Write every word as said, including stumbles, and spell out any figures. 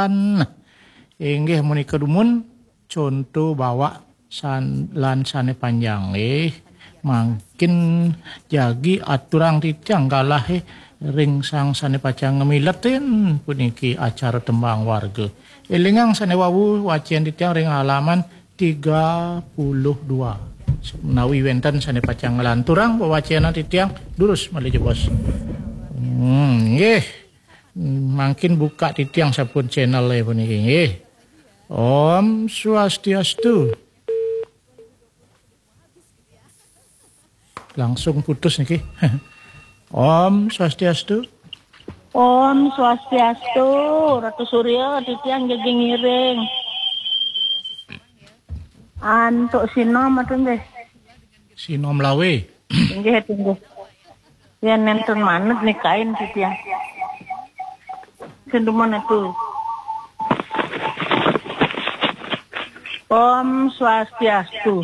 Nah, inggih menika dumun conto bawak san-, lan sane panjang nggih. Mangkin jagi aturang titiang galahe ring sang sane pacang ngamiletin puniki acara tembang warga. Elingang sane wau wacen titiang ring halaman tiga puluh dua. Menawi wenten sane pacang nglanturang wewacenan titiang, durus malih jebos. Hmm, nggih. Mangkin buka titiang sampun channel puniki nggih. Om Swastiastu. Langsung putus niki. Om Swastiastu. Om Swastiastu, Ratu Surya, titiang jagi ngiring. Antuk sinom atu nggih. Sinom lawe. Inggih, atu nggih. Yen nenten manut nikain titiang. Senduman atu. Om Swastiastu.